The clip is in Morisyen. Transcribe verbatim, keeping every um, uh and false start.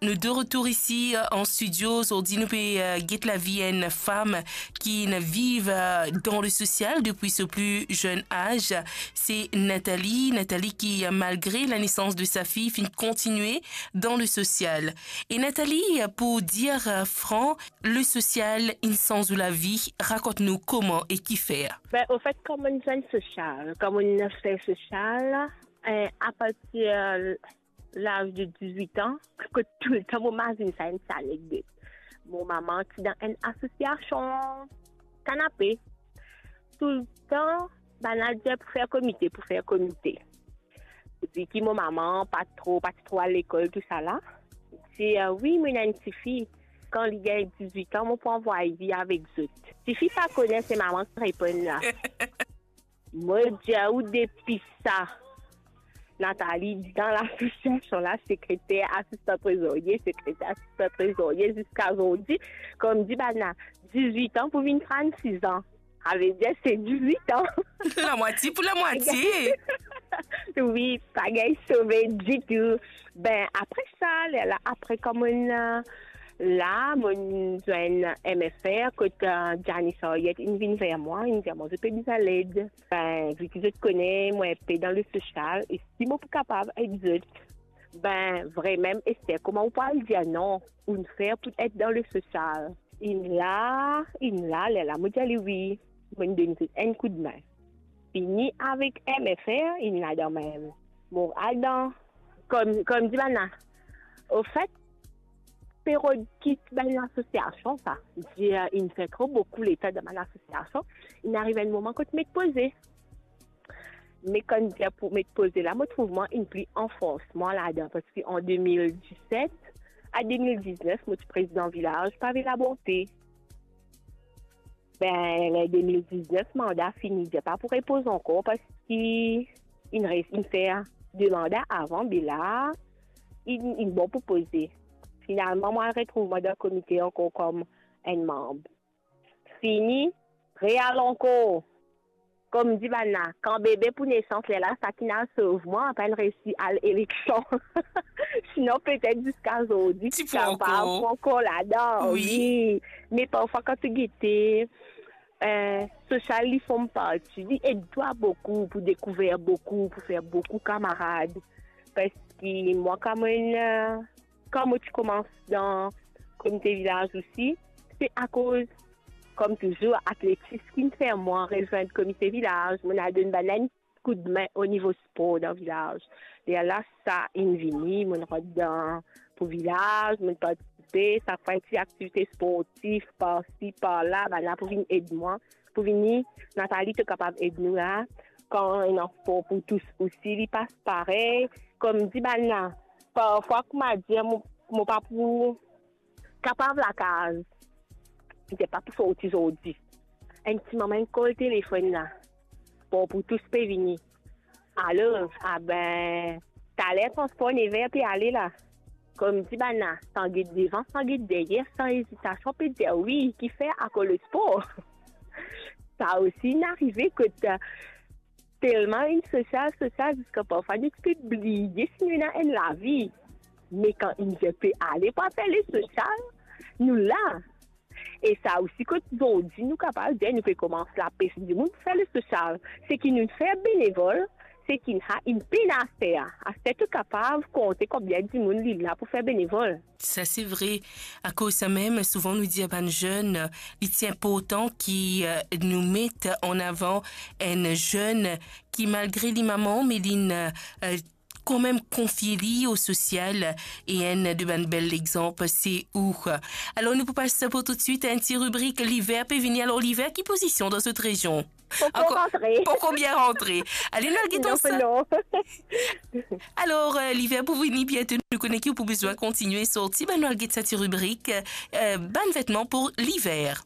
Nou de retour isi, euh, an studio. Zordi nou pe, euh, get lavi enn fam ki inn viv, euh, dan le sosial depi so pli zenn az. Se Nathalie. Nathalie ki, euh, malgre lanesans de sa fi, finn kontigne dan le sosial. E Nathalie, euh, pou dir, euh, fran, le sosial inn sanz ou lavi. Rakont nou kouma e kifer. Ben, au fait, kan mo'nn zwenn sosial, kan mo'nn fer sosial, euh, à partir laz de dizwit an, kot toultan mo mazinn sa enn ti anekdot. Mo mama ti dan enn asosiasion kanape. Toultan, bann la dir pou fer komite, pou fer komite. Vi ki mo mama pa tro, pa ti tro al lekol, tousala, ti, euh, wi, mo ena enn tifi. Kan li gagn dizwit an, mo pou anvway li avek zot. Tifi pa kone, se mama ki reponn la. Mo dir ou depi sa, Nathalie, dan lasosiasion la, sekreter, asistan trezorie, sekreter, asistan trezorie, ziska zordi, kouma dir bann la, dizwit an pou vinn trannsis an. Savedir se dizwit an. Lamwatie pou lamwatie. Wi, pa gagn sove ditou. Ben, apre sa, lerla, apre kouma, euh, la, mo'nn zwenn M F R, kot, euh, Janice Henriette inn vinn ver mwa, inn dir mwa, zot pe bizin led. Ben, vi ki zot kone, mwa enpe dan le sosial, e si mo pou kapav ed zot, ben, vremem, Esther, kouma ou pou al dir non, ou inn fer pou et dan le sosial? Inn la, inn la, lerla, mo dir li wi, mo'nn donn zot enn koudme. Fini avek M F R, inn la dan mem. Mo al dan, kouma, kouma dir bann la, au fait, period ki bann lasosiasion sa, dir inn fer tro boukou letan dan bann lasosiasion, inn ariv enn moman kot met poze. Me kan dir pou met poze la, mo trouv mwa inn pli anfors mwa ladan, parski an de mil diset a de mil diznef, mo ti prezidan vilaz Pave Labonte. Ben, ler de mil diznef manda fini, dir pa pou repoz ankor, parski inn res, inn fer de manda avan, be la, inn, inn bon pou poze. Finalman, mo al retrouv mwa dan komite ankor kouma enn manb. Fini, real ankor. Kouma dir bann la, kan bebe pou nesans, lerla, sa ki'nn al sov mwa, pa inn resi al eleksion. Sinon, petet ziska zordi, ti pou ankor ladan, wi. Me parfwa, kan to gete, euh, sosial, li form parti, li ed twa boukou pou dekouver boukou, pou fer boukou kamarad. Parski mwa, kouma, euh, kan mo ti koumans dan komite vilaz osi, se akoz, kouma touzour, atletis ki'nn fer mwa rezwenn komite vilaz, mo'nn al donn bann la enn koudme o nivo spor dan vilaz. Lerla sa inn vini, mo'nn rant dan pou vilaz, mo'nn partisipe, sak fwa enn ti aktivite sportif, parsi, parla, bann la pou vinn ed mwa, pou vini, Nathalie, to kapav ed nou la, kan ena spor pou tous osi, li pas parey, kouma dir bann la, parfwa, kouma dir, mo, mo pa pou kapav lakaz, mo pa pou sorti zordi. Enn ti moman, enn kol telefonn la, spor pou tous pe vini. Alor, aben, taler transpor nev er pe ale la. Kouma dir bann la, san get devan, san get deryer, san ezitasion, pe dir wi, kifer? Akoz lespor. Sa osi inn arive kot, telman inn sosial, sosial, ziska parfwa nou ti pe bliye si nou ena enn lavi. Me kan inn dir pe ale pou al fer lesosial, nou la. E sa osi, kot zordi nou kapav dir nou pe koumans lapes dimoun pou fer lesosial. Seki nou fer benevol, seki nou inn pena fer. Aster to kapav konte konbien dimoun li la pou fer benevol. Sa se vre. Akoz sa mem, souvan nou dir bann zenn, li ti inportan ki, euh, nou met an avan enn zenn ki, malgre li mama, me li, euh, kanmem konfie li o sosial, e enn de bann bel lexanp, se ou. Alor, nou pou pas pou toutswit enn ti ribrik Liver pe vini. Alor, Liver, ki pozision dan zot rezion? Poko rantre. Poko bien rantre. Ale, nou al get sa. Non. Alor, euh, Liver pou vini biento, nou kone ki ou pou bizin kontigne sorti, ben nou al get sa ti ribrik, euh, bann vetman pou Liver.